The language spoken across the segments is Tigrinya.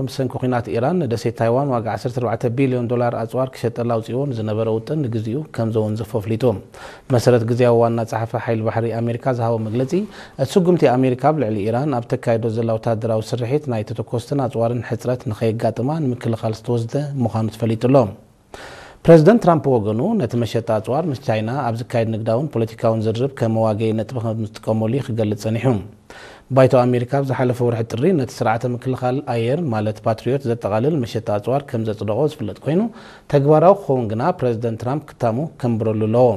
ብሰንኪ ኲናት ኢራን ንደሴት ታይዋን ዋጋ ዓሰርተ ኣርባዕተ ቢልዮን ዶላር ኣጽዋር ክሸጠላ ኣውጺዎ ንዝነበረ ውጥን ንግዚኡ ከም ዘወንዘፎ ኣፍሊጡ። ብመሰረት ግዝያዊ ዋና ጸሓፊ ሓይሊ ባሕሪ ኣሜሪካ ዝሃቦ መግለጺ፣ እቲ ስጉምቲ ኣሜሪካ ኣብ ልዕሊ ኢራን ኣብ ተካይዶ ዘላ ወታደራዊ ስርሒት ናይ ተተኮስትን ኣጽዋርን ሕጽረት ንኸየጋጥማ ንምክልኻል ዝተወስደ ምዃኑ ተፈሊጡ ኣሎ። ፕረዚደንት ትራምፕ ብወገኑ፣ ነቲ መሸጣ ኣጽዋር ምስ ቻይና ኣብ ዝካየድ ንግዳውን ፖለቲካውን ዝርርብ ከም መዋገኢ ነጥቢ ከም ዝጥቀመሉ እዩ ክገልጽ ጸኒሑ። ባይቶ ኣሜሪካ ኣብ ዝሓለፈ ወርሒ ጥሪ ነቲ ስርዓተ ምክልኻል ኣየር፣ ማለት ፓትሪዮት፣ ዘጠቓልል መሸጣ ኣጽዋር ከም ዘጽደቖ ዝፍለጥ ኮይኑ፣ ተግባራዊ ክኸውን ግና ፕረዚደንት ትራምፕ ክታሙ ከንብረሉ ኣለዎ።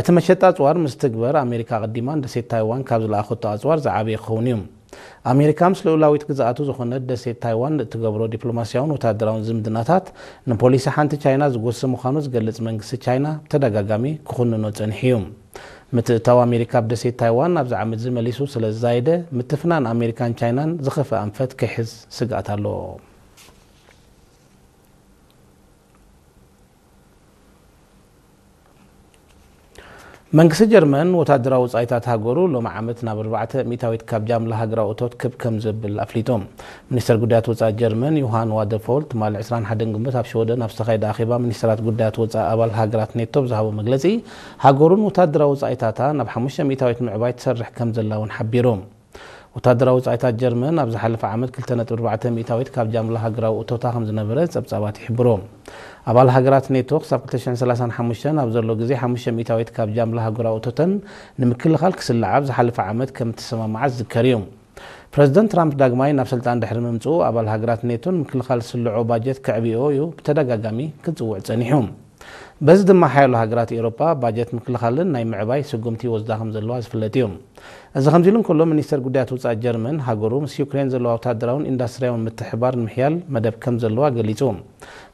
እቲ መሸጣ ኣጽዋር ምስ ትግበር፣ ኣሜሪካ ኣቐዲማ ንደሴት ታይዋን ካብ ዝለኣኸቶ ኣጽዋር ዝዓበየ ክኸውን እዩ። ኣሜሪካ ምስ ልኡላዊት ግዝኣቱ ዝኾነት ደሴት ታይዋን እትገብሮ ዲፕሎማስያውን ወታደራውን ዝምድናታት፣ ንፖሊሲ ሓንቲ ቻይና ዝጎሲ ምዃኑ ዝገልጽ መንግስቲ ቻይና ብተደጋጋሚ ክኹንኖ ጸኒሑ እዩ። ምትእትታው ኣሜሪካ ኣብ ደሴት ታይዋን ኣብዚ ዓመት እዚ መሊሱ ስለ ዝዛየደ፣ ምትፍናን ኣሜሪካን ቻይናን ዝኸፍአ ኣንፈት ክሕዝ ስግኣት ኣሎ። መንግስቲ ጀርመን ወታደራዊ ወጻኢታት ሃገሩ ሎሚ ዓመት ናብ ኣርባዕተ ሚእታዊት ካብ ጃምላ ሃገራዊ እቶት ክብ ከም ዘብል ኣፍሊጡ። ሚኒስተር ጉዳያት ወጻኢ ጀርመን ዮሃን ዋደፎል ትማሊ ዕስራን ሓደን ግንቦት ኣብ ሽወደን ኣብ ዝተኻየደ ኣኼባ ሚኒስተራት ጉዳያት ወጻኢ ኣባል ሃገራት ኔቶ ብዝሃቦ መግለጺ፣ ሃገሩን ወታደራዊ ወጻኢታታ ናብ ሓሙሽተ ሚእታዊት ምዕባይ ትሰርሕ ከም ዘላ እውን ሓቢሩ። ወታደራዊ ወጻኢታት ጀርመን ኣብ ዝሓለፈ ዓመት ክልተ ነጥቢ ኣርባዕተ ሚእታዊት ካብ ጃምላ ሃገራዊ እቶታ ከም ዝነበረ ጸብጻባት ይሕብሩ። ኣባል ሃገራት ኔቶ ክሳብ ክልተ ሽሕን ሰላሳን ሓሙሽተን ኣብ ዘሎ ግዜ ሓሙሽተ ሚእታዊት ካብ ጃምላ ሃገራዊ እቶተን ንምክልኻል ክስልዓ ኣብ ዝሓለፈ ዓመት ከም እተሰማምዓ ዝዝከር እዩ። ፕረዚደንት ትራምፕ ዳግማይ ናብ ስልጣን ድሕሪ ምምጽኡ፣ ኣባል ሃገራት ኔቶ ንምክልኻል ዝስልዖ ባጀት ከዕብዮ እዩ ብተደጋጋሚ ክጽውዕ ጸኒሑ። በዚ ድማ ሓያሎ ሃገራት ኤውሮጳ ባጀት ምክልኻለን ናይ ምዕባይ ስጉምቲ ይወስዳ ከም ዘለዋ ዝፍለጥ እዩ። እዚ ከምዚ ኢሉ እንከሎ፣ ሚኒስተር ጉዳያት ወጻኢ ጀርመን፣ ሃገሩ ምስ ዩክሬን ዘለዋ ወታደራውን ኢንዱስትርያውን ምትሕብባር ንምሕያል መደብ ከም ዘለዋ ገሊጹ።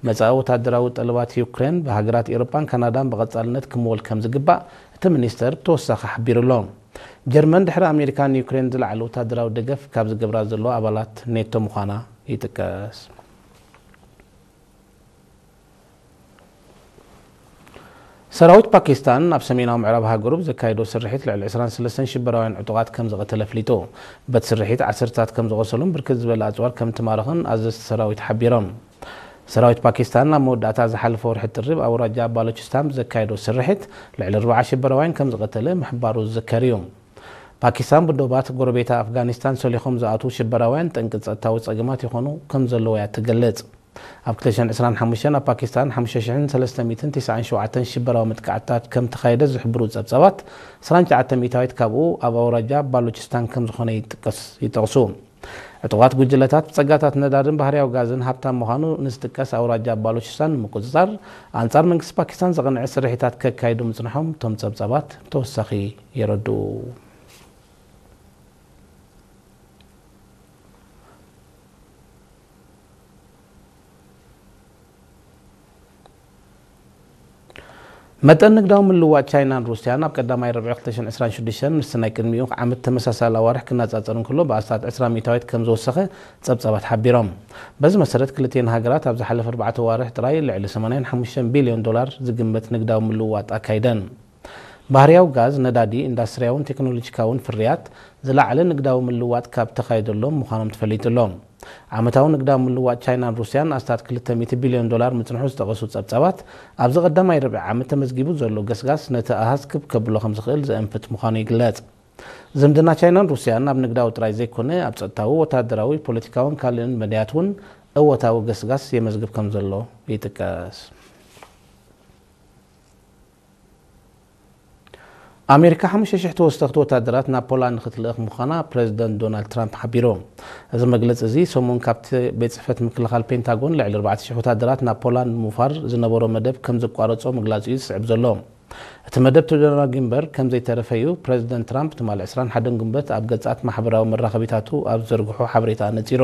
መጻኢ ወታደራዊ ጠለባት ዩክሬን ብሃገራት ኤውሮጳን ካናዳን ብቐጻልነት ክምወል ከም ዝግባእ እቲ ሚኒስተር ብተወሳኺ ሓቢሩ ኣሎ። ጀርመን ድሕሪ ኣሜሪካ ንዩክሬን ዝለዓለ ወታደራዊ ደገፍ ካብ ዝገብራ ዘለዋ ኣባላት ኔቶ ምዃና ይጥቀስ። ሰራዊት ፓኪስታን ኣብ ሰሜናዊ ምዕራብ ሃገሩ ብዘካየዶ ስርሒት ልዕሊ ዕስራን ሰለስተን ሽበራውያን ዕጡቓት ከም ዝቐተለ ኣፍሊጡ። በቲ ስርሒት ዓሰርታት ከም ዝቖሰሉን ብርክት ዝበለ ኣጽዋር ከም ትማረኽን ኣዘዝቲ ሰራዊት ሓቢሮም። ሰራዊት ፓኪስታን ኣብ መወዳእታ ዝሓለፈ ወርሒ ጥሪ ኣብ ኣውራጃ ባሎችስታን ብዘካየዶ ስርሒት ልዕሊ ኣርባዓ ሽበራውያን ከም ዝቐተለ ምሕባሩ ዝዝከር እዩ። ፓኪስታን ብዶባት ጎረቤታ ኣፍጋኒስታን ሰሊኾም ዝኣትዉ ሽበራውያን ጠንቂ ጸጥታዊ ጸገማት ይኾኑ ከም ዘለዉ እያ ትገልጽ። ኣብ ክልተ ሽሕን ዕስራን ሓሙሽተን ኣብ ፓኪስታን ሓሙሽተ ሽሕን ሰለስተ ሚእትን ተስዓን ሸውዓተን ሽበራዊ መጥቃዕትታት ከም ተኻየደ ዝሕብሩ ጸብጻባት፣ ዕስራን ትሽዓተ ሚእታዊት ካብኡ ኣብ ኣውራጃ ባሎችስታን ከም ዝኾነ ይጥቀስ-፣ ይጠቕሱ። ዕጡቓት ጉጅለታት ብጸጋታት ነዳድን ባህርያዊ ጋዝን ሃብታም ምዃኑ ንዝጥቀስ ኣውራጃ ባሎችስታን ንምቁጽጻር፣ ኣንጻር መንግስቲ ፓኪስታን ዘቕንዐ ስርሒታት ከካይዱ ምጽንሖም እቶም ጸብጻባት ብተወሳኺ የረድኡ። መጠን ንግዳዊ ምልውዋጥ ቻይናን ሩስያን ኣብ ቀዳማይ ርብዒ ክልተ ሽሕን ዕስራን ሽዱሽተን ምስቲ ናይ ቅድሚኡ ዓመት ተመሳሳሊ ኣዋርሕ ክነጻጸር እንከሎ ብኣስታት ዕስራ ሚእታዊት ከም ዝወሰኸ ጸብጻባት ሓቢሮም። በዚ መሰረት ክልቲኤን ሃገራት ኣብ ዝሓለፈ ኣርባዕተ ኣዋርሕ ጥራይ ልዕሊ ሰማንያን ሓሙሽተን ቢልዮን ዶላር ዝግመት ንግዳዊ ምልውዋጥ ኣካይደን። ባህርያዊ ጋዝ፣ ነዳዲ፣ ኢንዳስትርያውን ቴክኖሎጂካውን ፍርያት ዝለዓለ ንግዳዊ ምልውዋጥ ካብ ተኻየደሎም ምዃኖም ተፈሊጡ ኣሎ። ዓመታዊ ንግዳዊ ምልውዋጥ ቻይናን ሩስያን ኣስታት ክልተ ሚእቲ ቢልዮን ዶላር ምጽንሑ ዝጠቐሱ ጸብጻባት፣ ኣብዚ ቀዳማይ ርብዒ ዓመት ተመዝጊቡ ዘሎ ገስጋስ ነቲ ኣሃዝ ክብ ከብሎ ከም ዝኽእል ዘእንፍት ምዃኑ ይግለጽ። ዝምድና ቻይናን ሩስያን ኣብ ንግዳዊ ጥራይ ዘይኮነ፣ ኣብ ጸጥታዊ፣ ወታደራዊ፣ ፖለቲካውን ካልእን መዳያት እውን እወታዊ ገስጋስ የመዝግብ ከም ዘሎ ይጥቀስ። ኣሜሪካ ሓሙሽተ ሽሕ ተወሰኽቲ ወታደራት ናብ ፖላንድ ክትልእኽ ምዃና ፕረዚደንት ዶናልድ ትራምፕ ሓቢሩ። እዚ መግለጺ እዚ ሰሙን ካብቲ ቤት ጽሕፈት ምክልኻል ፔንታጎን ልዕሊ ኣርባዕተ ሽሕ ወታደራት ናብ ፖላንድ ንምውፋር ዝነበሮ መደብ ከም ዝቋረጾ ምግላጹ እዩ ዝስዕብ ዘሎ። እቲ መደብ ተደናጊዩ እምበር ከም ዘይተረፈ እዩ ፕረዚደንት ትራምፕ ትማሊ ዕስራን ሓደን ግንቦት ኣብ ገጻት ማሕበራዊ መራኸቢታቱ ኣብ ዝዘርግሖ ሓበሬታ ኣነጺሩ።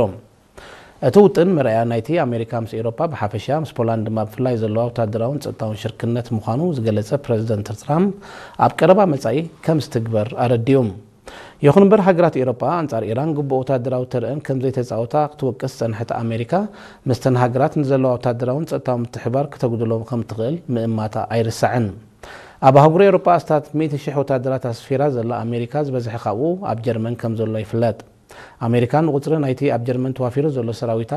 እቲ ውጥን መርኣያ ናይቲ ኣሜሪካ ምስ ኤውሮጳ ብሓፈሻ፣ ምስ ፖላንድ ድማ ብፍላይ ዘለዋ ወታደራውን ጸጥታውን ሽርክነት ምዃኑ ዝገለጸ ፕረዚደንት ትራምፕ፣ ኣብ ቀረባ መጻኢ ከም ዝትግበር ኣረዲኡ። ይኹን እምበር፣ ሃገራት ኤውሮጳ ኣንጻር ኢራን ግቡእ ወታደራዊ ተርእን ከም ዘይተጻወታ ክትወቅስ ዝጸንሐት ኣሜሪካ፣ ምስተን ሃገራት ንዘለዋ ወታደራውን ጸጥታውን ምትሕብባር ክተጉድሎ ከም እትኽእል ምእማታ ኣይርሳዕን። ኣብ ኣህጉር ኤውሮጳ ኣስታት ሚእቲ ሽሕ ወታደራት ኣስፊራ ዘላ ኣሜሪካ፣ ዝበዝሐ ካብኡ ኣብ ጀርመን ከም ዘሎ ይፍለጥ። ኣሜሪካ ንቁፅሪ ናይቲ ኣብ ጀርመን ተዋፊሩ ዘሎ ሰራዊታ